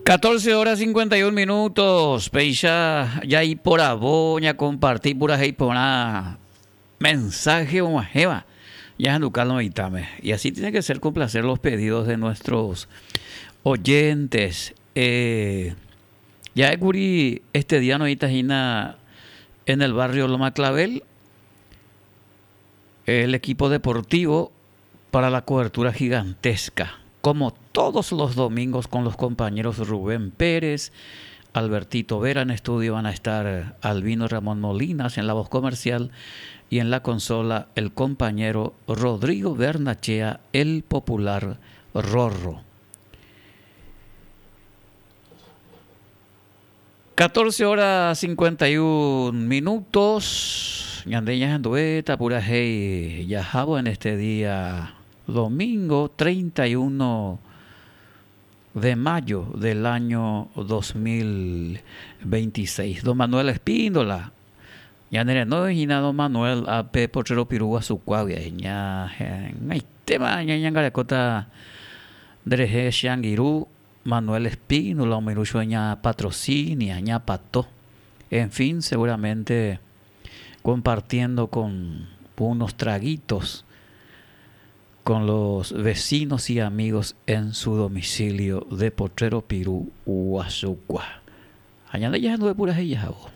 14 horas 51 minutos. Péicha jaiporavo ñakomparti purahéi porã mensaje og̃uahẽva ñahenduka lo mitãme. Y así tiene que ser complacer los pedidos de nuestros oyentes. Eh, ja'ékuri este día noĩta hína en el barrio Loma Clavel el equipo deportivo para la cobertura gigantesca, como todos los domingos con los compañeros Rubén Pérez, Albertito Vera en estudio van a estar Albino Ramón Molinas en la voz comercial y en la consola el compañero Rodrigo Bernachea, el popular Rorro. 14 horas 51 minutos. Ñande ñahenduvéta purahéi jahávo en este día domingo 31 de mayo del año 2026. Don Manuel Espíndola, ñane renói hína don Manuel ápe Potrero Piru Guasukuágui ñaheg̃aitéma ñañangarekóta nderehe che angirũ Manuel Espínola omoirũ chupe ña Patrocinia, ña Pato, en fin, seguramente compartiendo con unos traguitos con los vecinos y amigos en su domicilio de Potrero Piru, Guasukua. Ha ñande jahenduve purahéi jahávo.